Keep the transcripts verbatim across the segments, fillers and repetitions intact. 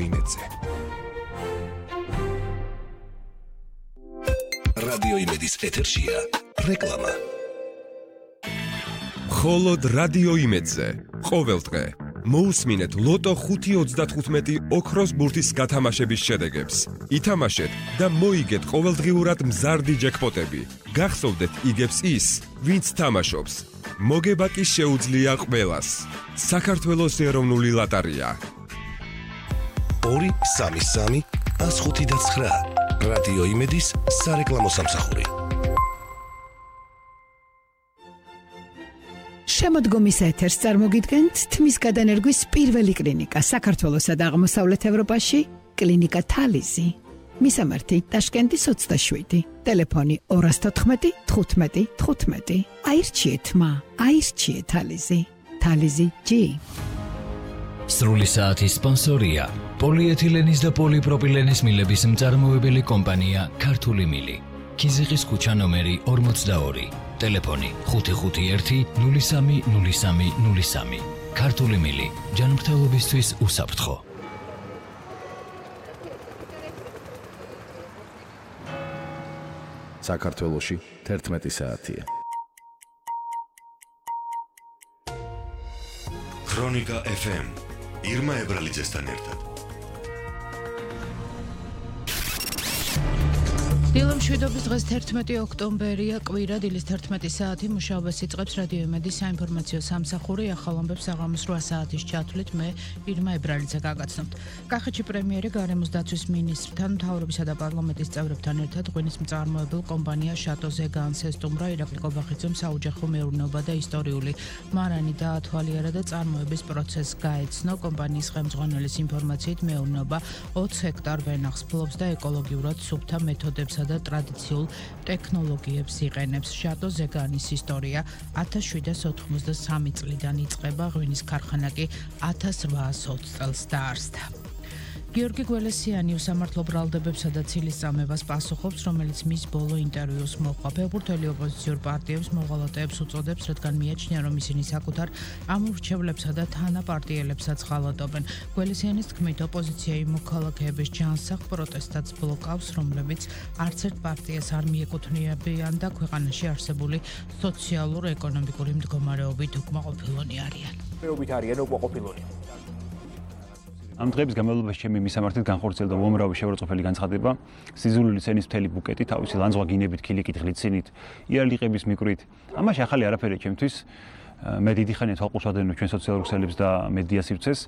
იმედზე. რადიო იმედის ეთერშია რეკლამა. მხოლოდ რადიო იმედზე ყოველდღე მოусმინეთ ლოტო ხუთი ოცდათხუთმეტი ოქროს ბურთის გათამაშების შედეგებს. ითამაშეთ და მოიგეთ ყოველდღიურად მზარდი ჯეკპოტები. გახსოვდეთ იგებს ის, ვინც თამაშობს. მოგება კი შეუძლია ყველას. საქართველოს ეროვნული ლოტარია. ორი სამი სამი ას ხუთი და ცხრა. რადიო იმედის სარეკლამო სამსახური. შემოდგომის ეთერს წარმოგიდგენთ თმის გადანერგვის პირველი კლინიკა საქართველოსა და აღმოსავლეთ ევროპაში, კლინიკა თალიზი. მისამართი ტაშკენტის ოცდაშვიდი, ტელეფონი ორი თოთხმეტი თხუთმეტი თხუთმეტი. აირჩიეთ მა, აირჩიეთ თალიზი. თალიზი ჯი. სრული საათის სპონსორია პოლიეთილენის და პოლიპროპილენის მილების მწარმოებელი კომპანია ქართული მილი. ქიზიყის ქუჩა ნომერი ორმოცდაორი. ტელეფონი ხუთი ხუთი ერთი ნული სამი ნული სამი ნული სამი. ქართული მილი ჯანმრთელობისთვის უსაფრთხო. საქართველოში თერთმეტი საათია. ქრონიკა ეფ ემ ირმა ებრალიძესთან ერთად. დილო მშვიდობის დღეს თერთმეტი ოქტომბერია, კვირა, დილის თერთმეტი საათი. მუშაობას იწყებს რადიო იმედის საინფორმაციო სამსახური. ახალ ამბებს საღამოს რვა საათის ჩათვლით მე ირმა ებრალიძე გაგაცნობთ. კახეთში პრემიერი გარემოს დაცვის მინისტრთან, მთავრობისა და პარლამენტის წევრებთან ერთად ღვინის მწარმოებელ კომპანია შატოზე განსესტუმრა. ირაკლი კობახიძემ საოჯახო მეურნეობა და ისტორიული მარანი დაათვალიერა და წარმოების პროცესს გაეცნო. კომპანიის ხელმძღვანელის ინფორმაციით მეურნეობა ოცი ჰექტარ ვენახს ფლობს და ეკოლოგიურად სუფთა მეთოდებსა და ტრადიციულ ტექნოლოგიებს იყენებს. შატო ზეგანის ისტორია ათას შვიდსათ ოთხმოცდასამი წლიდან იწყება, ღვინის ქარხანა კი ათას რვაას ოცი წელს დაარსდა. გიორგი გველესიანი უსამართლო ბრალდებებსა და ცილისწამებას პასუხობს, რომელიც მის ბოლო ინტერვიუს მოჰყვა. ფეხბურთელი ოპოზიციურ პარტიებს მოღალატეებს უწოდებს, რადგან მიაჩნია, რომ ისინი საკუთარ ამორჩევლებსა და თანაპარტიელებსაც ღალატობენ. გველესიანის თქმით, ოპოზიცია იმ მოქალაქეების ჯანსაღ პროტესტებს ბლოკავს, რომლებიც არც ერთ პარტიას არ მიეკუთვნებიან და ქვეყანაში არსებული სოციალურ-ეკონომიკური მდგომარეობით უკმაყოფილონი არიან. მეობით არიან უკმაყოფილონი. ამ დღეების განმავლობაში ჩემი მისამართით განხორციელდა უამრავი შეურაცხყოფელი განცხადება, სიზულული სცენის მთელი ბუკეტი, თავისი ლანძღვა გინებით, ქილიკით, ღლიცინით, იარლიყების მიკვრით. ამაში ახალი არაფერია ჩემთვის. მე დიდი ხანია თვალყურს ვადევნებ ჩვენ სოციალურ ქსელებს და მედია სივრცეს,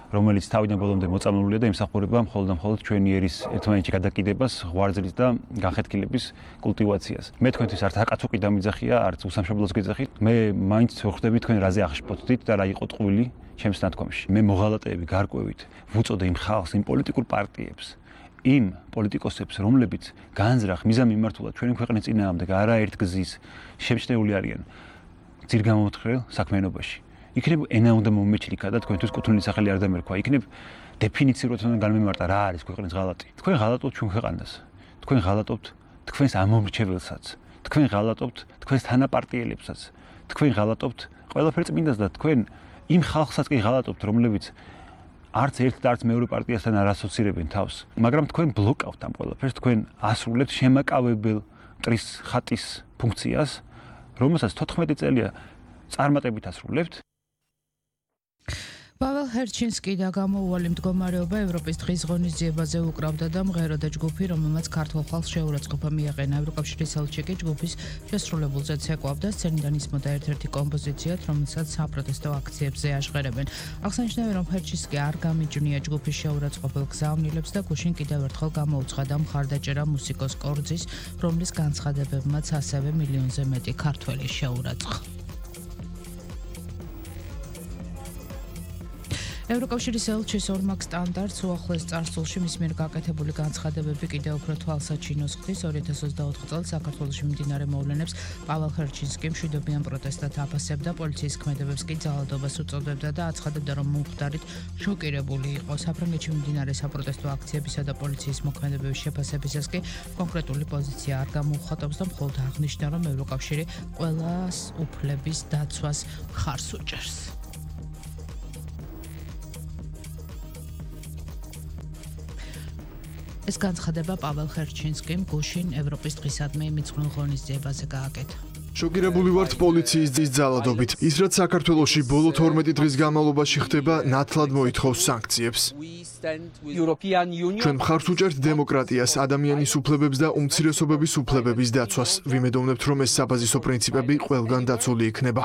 რომელიც თავიდან ბოლომდე მოწამლულია და იმსახურება მხოლოდ და მხოლოდ ჩვენი ერის ერთმანეთში გადაკიდებას, ღვარძლის და განხეთქილების კულტივაციას. მე თქვენთვის არც აკაცუკი დამიძახია, არც უსამშობლოს გეძახით. მე მაინც ვხვდები თქვენ რაზე აღშფოთდით და რა იყო ტყუილი ჩემს ნათქვამში. მე მოღალატეები გარკვევით ვუწოდე იმ ხალხს, იმ პოლიტიკურ პარტიებს, იმ პოლიტიკოსებს, რომლებიც განზრახ მიზანმიმართულად ჩვენი ქვეყნის წინააღმდეგ არაერთ გზის შემჩნეული არიან ძირგამომთხრელ საქმიანობაში. იქნებ ენა უნდა მომეჩლიქა და თქვენთვის კუთვნილი სახელი არ დამერქვა. იქნებ დეფინიციურად უნდა განმემარტა რა არის ქვეყნის ღალატი. თქვენ ღალატობთ ჩვენ ქვეყანას. თქვენ ღალატობთ თქვენს ამომრჩეველსაც. თქვენ ღალატობთ თქვენს თანაპარტიელებსაც. თქვენ ღალატობთ ყველაფერ წმინდას და თქვენ იმ ხალხსაც კი ღალატობთ, რომლებიც არც ერთ და არც მეორე პარტიასთან არ ასოცირებენ თავს. მაგრამ თქვენ ბლოკავთ ამ ყველაფერს, თქვენ ასრულებთ შემაკავებელ მტრის ხატის ფუნქციას, რომელსაც თოთხმეტი წელია წარმატებით ასრულებთ. პაվել ჰერჩინსკი და გამოუვალი მდგომარეობა ევროპის დღის ღონისძიებაზე უკრავდა და მღეროდა ჯგუფი, რომელმაც ქართულ ხალხს შეურაცხყოფა მიაყენა. ევროკავშირის ელჩი კი ჯგუფის შესრულებულზეც ეკვლავდა, სცენიდან ისმოდა ერთ-ერთი კომპოზიციად, რომელსაც საპროტესტო აქციებზე აშღერებენ. აღსანიშნავია, რომ ჰერჩინსკი არ გამიჯვნია ჯგუფის შეურაცხყოფელ გზავნილებს და გუშინ კიდევ ერთხელ გამოუცხადა მხარდაჭერა მუსიკოს კორძის, რომლის განცხადებებმაც ასევე მილიონზე მეტი ქართველი შეურაცხა. ევროკავშირის ელჩის ორმაგ სტანდარტს უახლოეს წარსულში მის მიერ გაკეთებული განცხადებები კიდევ უფრო თვალსაჩინოს ხდის. ორი ათას ოცდაოთხ წელს საქართველოში მიმდინარე მოვლენებს პაվել ჰერჩინსკი მშვიდობიან პროტესტად აფასებდა, პოლიციის ქმედებებს კი ძალადობას უწოდებდა და აცხადებდა, რომ მომხდარით შოკირებული იყო. საფრანგეთში მიმდინარე საპროტესტო აქციებისა და პოლიციის მოქმედებების შეფასებისას კი კონკრეტული პოზიცია არ გამოუხატავს და მხოლოდ აღნიშნა, რომ ევროკავშირი ყველას უფლების დაცვას მხარს უჭერს. ეს განცხადება პაվել ხერჩინსკიმ გუშინ ევროპის დღისადმი მიძღვნილ ღონისძიებაზე გააკეთა. შოკირებული ვართ პოლიციის ძალადობით. ის რაც საქართველოში ბოლო თორმეტი დღის განმავლობაში ხდება, ნათლად მოითხოვს სანქციებს. ჩვენ მხარს უჭერთ დემოკრატიას, ადამიანის უფლებებს და უმცირესობების უფლებების დაცვას. ვიმედოვნებთ, რომ ეს საბაზისო პრინციპები ყველგან დაცული იქნება.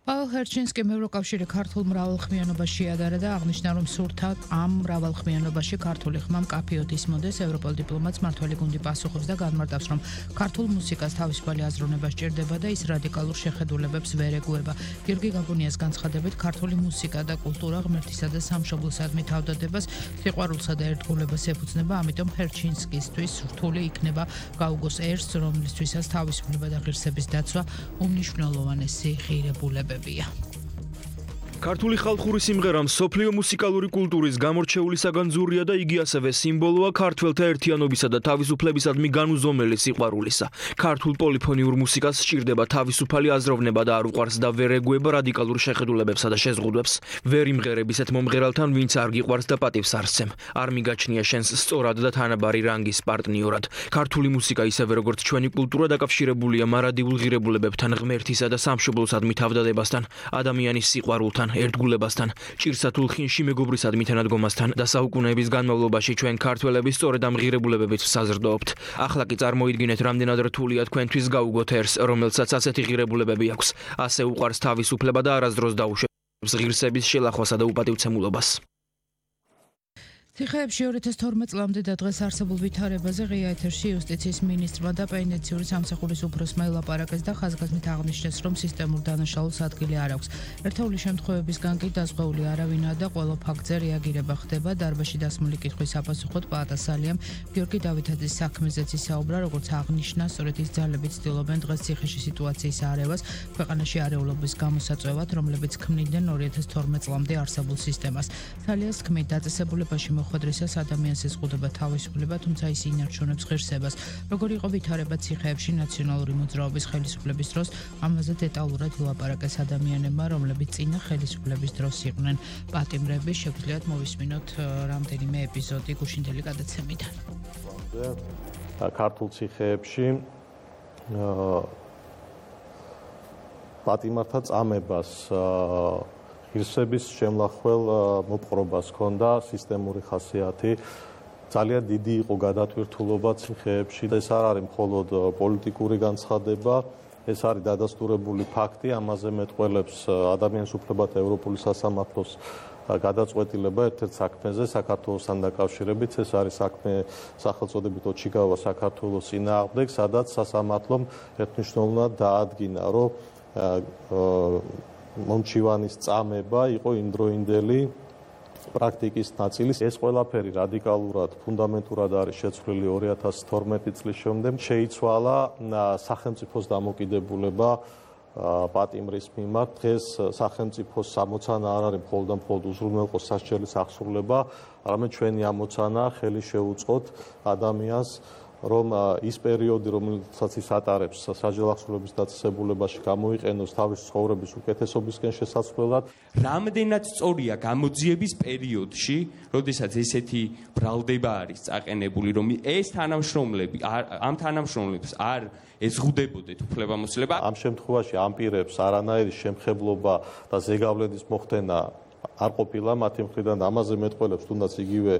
პაվել ხერჩინსკიმ ევროკავშირი ქართულ მრავალხმიანობას შეადარა და აღნიშნა, რომ სურთა ამ მრავალხმიანობაში ქართული ხმა მკაფიოდ ისმოდეს. ევროპელ დიპლომატს მმართველი გუნდი პასუხობს და განმარტავს, რომ ქართულ მუსიკას თავისუფალი აზროვნება სჭირდება და ის რადიკალურ შეხედულებებს ვერ ეგუება. გიორგი გაგუნიას განცხადებით, ქართული მუსიკა და კულტურა ღმერთისა და სამშობლოსადმი თავდადებას, სიყვარულსა და ერთგულებას ეფუძნება, ამიტომ ხერჩინსკისთვის რთული იქნება გაუგოს ერს, რომლისთვისაც თავისუფლება და ღირსების დაცვა უმნიშვნელოვანესი ღირებულებები. ქართული ხალხური სიმღერა მსოფლიო მუსიკალური კულტურის გამორჩეული საგანძურია და იგი ასევე სიმბოლოა ქართველთა ერთიანობისა და თავისუფლებისადმი განუზომელი სიყვარულისა. ქართულ პოლიფონიურ მუსიკას სჭირდება თავისუფალი აზროვნება და არ უყვარს და ვერ ეგუება რადიკალურ შეხედულებებსა და შეზღუდვებს. ვერ იმღერებ ისეთ მომღერალთან, ვინც არ გიყვარს და პატივს არ სცემ. არ მიგაჩნია შენს სწორად და თანაბარი რანგის პარტნიორად. ქართული მუსიკა ისევე როგორც ჩვენი კულტურა დაკავშირებულია მარადილ ღირებულებებთან, ღმერთისა და სამშობლოსადმი თავდადებასთან, ადამიანის სიყვარულთან, ერთგულებასთან, ჭირსათულ ხინში მეგობრისადმი თანადგომასთან და საუკუნეების განმავლობაში ჩვენ ქართველები სწორედ ამ ღირებულებებით საზრდოობთ. ახლა კი წარმოიდგინეთ, რამდენად რთულია თქვენთვის გაუგოთ ერს, რომელსაც ასეთი ღირებულებები აქვს. ასე უყვარს თავისუფლება და არასდროს დაუშვებს ღირსების შელახვასა და უპატივცემულობას. ციხეებში ორი ათას თორმეტ წლამდე და დღეს არსებულ ვითარებაზე ღია ეთერში იუსტიციის მინისტრმა და პენიტენციური სამსახურის უფროსმა ელაპარაკეს და ხაზგასმით აღნიშნეს, რომ სისტემურ დანაშაულს ადგილი არ აქვს. ერთეული შემთხვევებისგან კი დაზღვეული არავინაა და ყველა ფაქტზე რეაგირება ხდება. დარბაზში დასმული კითხვის საპასუხოდ პაატა სალიამ გიორგი დავითაძის საქმეზეც ისაუბრა, როგორც აღნიშნა, სწორედ ის ძალებით ცდილობენ დღეს ციხეში სიტუაციის არევას, ქვეყანაში არეულობის გამოსაწვევად, რომლებიც ქმნიდნენ ორი ათას თორმეტ წლამდე არსებულ სისტემას. სალიას თქმით, დაწესებულებაში ხვედრისას ადამიანს ეზღუდება თავისუფლება, თუმცა ის ინარჩუნებს ღირსებას. როგორ იყო ვითარება ციხეებში ნაციონალური მოძრაობის ხელისუფლების დროს, ამაზე დეტალურად ილაპარაკეს ადამიანებმა, რომლებიც წინა ხელისუფლების დროს იყვნენ პატიმრები. შეგვიძლიათ მოვისმინოთ რამდენიმე ეპიზოდი გუშინდელი გადაცემიდან. ქართულ ციხეებში პატიმართა წამებას ღირსების შემლახველ მოპყრობას ჰქონდა სისტემური ხასიათი. ძალიან დიდი იყო გადატვირთულობა ციხეებში. ეს არ არის მხოლოდ პოლიტიკური განცხადება, ეს არის დადასტურებული ფაქტი. ამაზე მეტყველებს ადამიანის უფლებათა ევროპული სასამართლოს გადაწყვეტილება ერთ-ერთ საქმეზე საქართველოსთან დაკავშირებით. ეს არის საქმე სახელწოდებით ოჩიგავა საქართველოს წინააღმდეგ, სადაც სასამართლომ ერთნიშნულად დაადგინა, რომ მომჩივანის წამება იყო იმდროინდელი პრაქტიკის ნაწილი. ეს ყველაფერი რადიკალურად, ფუნდამენტურად არის შეცვლილი ორი ათას თორმეტი წლის შემდეგ. შეიცვალა სახელმწიფოს დამოკიდებულება პატიმრის მიმართ. დღეს სახელმწიფოს ამოცანა არ არის მხოლოდ და მხოლოდ უზრუნველყოს სასჯელის აღსრულება, არამედ ჩვენი ამოცანა ხელი შეუწყოთ ადამიანს, რომ ის პერიოდი, რომელსაც ის ატარებს სასჯელ აღსრულების დაწესებულებაში, გამოიყენოს თავის ცხოვრების უკეთესობისკენ შესაძლებლად. რამდენად სწორია გამოძიების პერიოდში, როდესაც ესეთი ბრალდება არის წაყენებული, რომ ეს თანამშრომლები ამ თანამშრომლებს არ ეზღუდებოდეთ უფლებამოსილება. ამ შემთხვევაში ამ პირებს არანაირი შემხებლობა და ზეგავლენის მოხდენა არ ყოფილა მათი მხრიდან. ამაზე მეტყველებს თუნდაც იგივე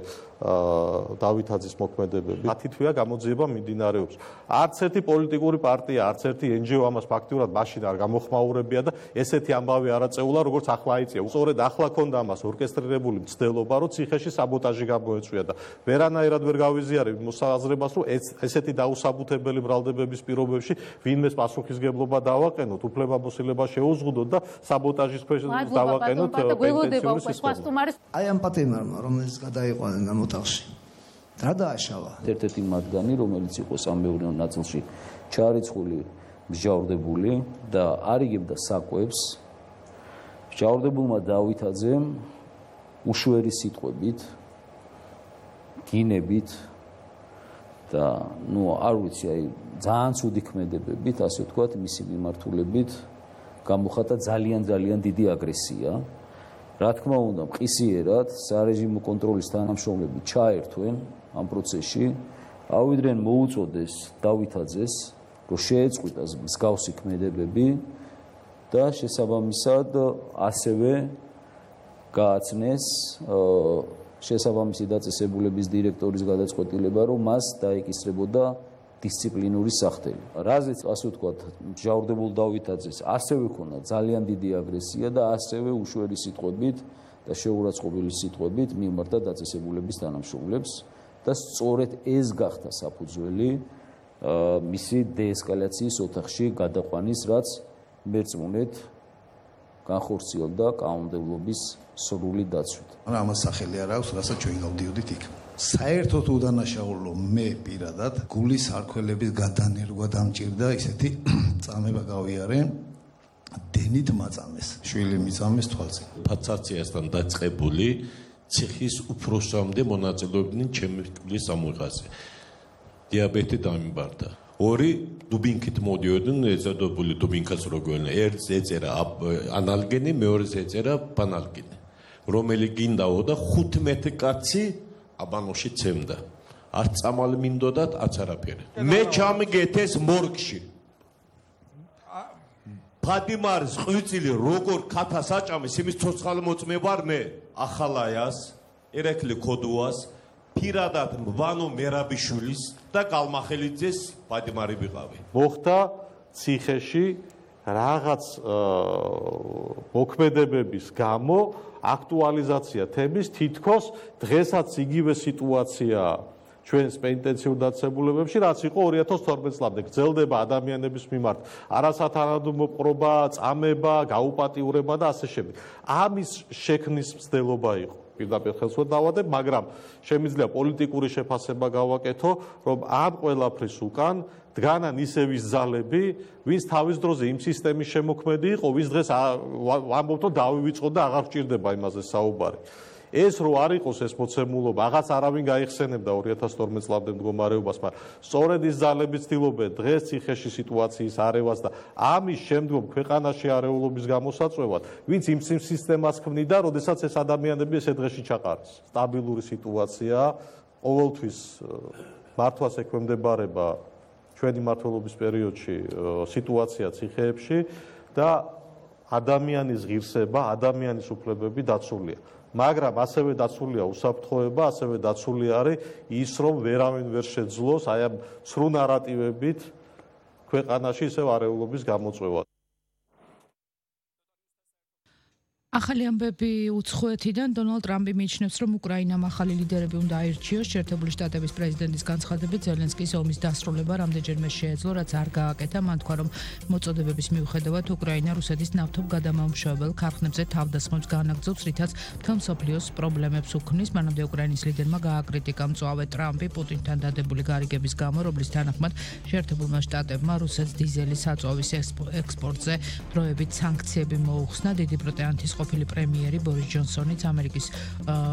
დავითაძის მოქმედებები. მათი თვია გამოძიება მიმდინარეობს. არც ერთი პოლიტიკური პარტია, არც ერთი ენ ჯი ო ამას ფაქტიურად მაშინ არ გამოხმაურებია და ესეთი ამბავი არ აწეულა, როგორც ახლა აიწია. სწორედ ახლა ქონდა ამას ორკესტრირებული მცდელობა, რომ ციხეში საბოტაჟი გამოეწვია და ვერანაირად ვერ გავიზიარებ მოსაზრებას, რომ ესეთი დაუსაბუთებელი ბრალდებების პირობებში ვინმეს პასუხისგებლობა დავაყენოთ, უფლებამოსილება შეუზღუდოთ და საბოტაჟის ქვეშ დავაყენოთ პენტენციური სისტემა. აი ამ პატიმარმა, რომელიც გადაიყვანენ ამ ოთახში, რა დააშალა? ერთ-ერთი მათგანი, რომელიც იყო სამეურნეო ნაწილში ჩარიცხული, მსჯავრდებული და არიგებდა საკვებს, მსჯავრდებულმა დავითაძემ უშვერი სიტყვებით, გინებით და ნუ არ ვიცი, აი ძალიან ცუდი ქმედებებით, ასე ვთქვათ, მისი მიმართულებით გამოხატა ძალიან ძალიან დიდი აგრესია. რა თქმა უნდა, მყისიერად სარეჟიმო კონტროლის თანამშრომლები ჩაერთვენ ამ პროცესში, ავიდნენ მოუწოდეს დავითაძეს, რომ შეეწყვიტას მსგავსი ქმედებები და შესაბამისად ასევე გააცნეს შესაბამისი დაწესებულების დირექტორის გადაწყვეტილება, რომ მას დაეკისრებოდა დისციპლინური სახელი. რაზეც ასე ვთქვათ, მჟავრდებულ დავითაძეს ასევე ქონდა ძალიან დიდი აგრესია და ასევე უშვერი სიტყვებით და შეურაცხყოფილი სიტყვებით მიმართა დაწესებულების თანამშრომლებს და სწორედ ეს გახდა საფუძველი მისი დეესკალაციის ოთახში გადაყვანის, რაც მერწმუნედ განხორციელდა კანონმდებლობის სრული დაცვით. მაგრამ ამას სახელი არ აქვს, რასაც ჩვენ გავდიოდით იქ. საერთოდ უდანაშაულო მე პირადად გულის არქველების გადანერგვა დამჭირდა, ისეთი წამება გავიარე დენით მაწამეს, შვილი მიწამეს თვალზე. ფაცაციასთან დაწყებული ციხის უფროსამდე მონაწილეობდნენ ჩემი თვლის ამოიღაზე. დიაბეტი დამიბარდა. ორი დუბინკით მოდიოდნენ, ეწოდებული დუბინკას როგორ ერთს ეწერა ანალგენი, მეორეს ეწერა პანალგენი. რომელი გინდაო და ხუთმეტი კაცი აბანოში ცემდა. არც წამალი მინდოდათ, არც არაფერი. მე ჩამიგეთ ეს მორგში. ფადიმარის ყვიწილი როგორ ქათას აჭამეს, იმის ცოცხალი მოწმე ვარ მე. ახალაიას, ერეკლი ქოდუას, პირადად ვანო მერაბიშვილის და გალმახელიძეს ფადიმარი ვიყავი. მოხდა ციხეში რაღაც მოქმედებების გამო აქტუალიზაცია თემის, თითქოს დღესაც იგივე სიტუაციაა ჩვენს პენიტენციურ დაწესებულებებში, რაც იყო ორი ათას თორმეტ წლამდე. გრძელდება ადამიანების მიმართ არასათანადო მოპყრობა, წამება, გაუპატიურება და ასე შემდეგ. ამის შექმნის მცდელობა იყო. პირდაპირ ხელს ვერ დავადებ, მაგრამ შემიძლია პოლიტიკური შეფასება გავაკეთო, რომ ამ ყველაფრის უკან დგანან ისევის ძალები, ვინც თავის დროზე იმ სისტემის შემოქმედი იყო, ვის დღეს ვამბობთ, რომ დავივიწყოთ და აღარ გვჭირდება იმაზე საუბარი. ეს რო არ იყოს ეს მოცემულობა, აღაც არავინ გაიხსენებდა ორი ათას თორმეტ წლამდე მდგომარეობას, მაგრამ სწორედ ის ძალები ცდილობენ დღეს ციხეში სიტუაციის არევას და ამის შემდგომ ქვეყანაში არეულობის გამოსაწვევად, ვინც იმ სისტემას ქმნიდა, როდესაც ეს ადამიანები ესე დღეში ჩაყარეს. სტაბილური სიტუაცია, ყოველთვის მართვას ექვემდებარება ჩვენი მმართველობის პერიოდში სიტუაცია ციხეებში და ადამიანის ღირსება, ადამიანის უფლებები დაცულია. მაგრამ ასევე დაცულია უსაფრთხოება, ასევე დაცული არის ის, რომ ვერავინ ვერ შეძლოს აი ამ ცრუ ნარატივებით ქვეყანაში ისევ არეულობის გამოწვევა. ახალი ამბები უცხოეთიდან დონალდ ტრამპი მიიჩნევს, რომ უკრაინამ ახალი ლიდერები უნდა აირჩიოს. შეერთებული შტატების პრეზიდენტის განცხადებით, ზელენსკის ომის დასრულება რამდენჯერმე შეეძლო, რაც არ გააკეთა. მან თქვა, რომ მოწოდებების მიუხედავად უკრაინა რუსეთის ნავთობ გადამამუშავებელ ქარხნებზე თავდასხმებს განაგრძობს, რითაც მთელ მსოფლიოს პრობლემებს უქმნის. მანამდე უკრაინის ლიდერმა გააკრიტიკა მწვავე ტრამპი პუტინთან დადებული გარიგების გამო, რომლის თანახმად შეერთებულმა შტატებმა რუსეთს დიზელის საწვავის ექსპორტზე დროებით სანქციები მოუხსნა. დიდი ბრიტანეთის ყოფილი პრემიერი ბორის ჯონსონიც ამერიკის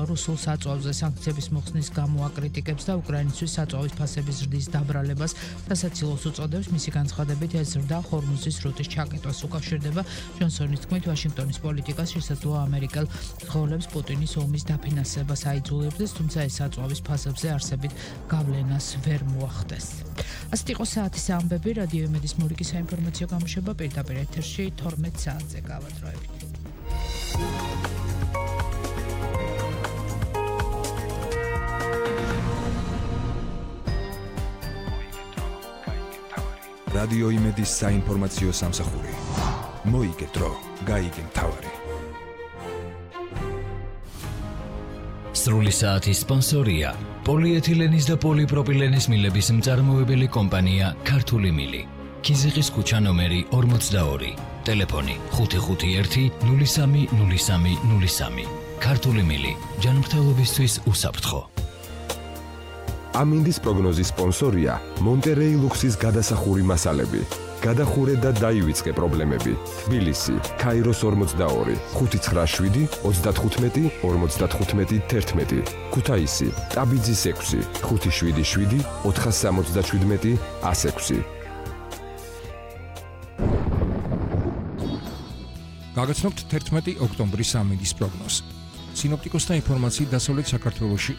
რუსულ საწვავზე სანქციების მოხსნის გამო აკრიტიკებს და უკრაინისთვის საწვავის ფასების ზრდის დაბრალებას სასაცილოს უწოდებს. მისი განცხადებით ეს ზრდა ჰორმუზის რუტის ჩაკეტვას უკავშირდება. ჯონსონის თქმით, ვაშინგტონის პოლიტიკას შესაძლოა ამერიკელ მძღოლებს პუტინის ომის დაფინანსებას აიძულებდეს, თუმცა ეს საწვავის ფასებზე არსებით გავლენას ვერ მოახდეს. ასეთ იყო საათის ამბები. რადიო იმედის მურიკის საინფორმაციო გამოშვება პირდაპირ ეთერში თორმეტ საათზე გავადროებით. რადიო იმედის საინფორმაციო სამსახური. მოიგე დრო, გაიგე მთავარი. სრული საათის სპონსორია პოლიეთილენის და პოლიპროპილენის მილების მწარმოებელი კომპანია ქართული მილი. ქიზიყის ქუჩა ნომერი ორმოცდაორი. ტელეფონი ხუთი ხუთი ერთი ნული სამი ნული სამი ნული სამი. ქართული მილი, ჯანმრთელობისთვის უსაფრთხო. ამინდის პროგნოზის სპონსორია მონტერეი ლუქსის გადასახური მასალები. გადახურე და დაივიწყე პრობლემები. თბილისი, ქაიროს ორმოცდაორი, ხუთი ცხრა შვიდი ოცდათხუთმეტი ორმოცდათხუთმეტი თერთმეტი. ქუთაისი, ტაბიძის ექვსი, ხუთი შვიდი შვიდი ოთხასამოცდაშვიდმეტი ასექვსი. გაგაცნობთ თერთმეტი ოქტომბრის ამინდის პროგნოზს. სინოპტიკოსთა ინფორმაციით დასავლეთ საქართველოში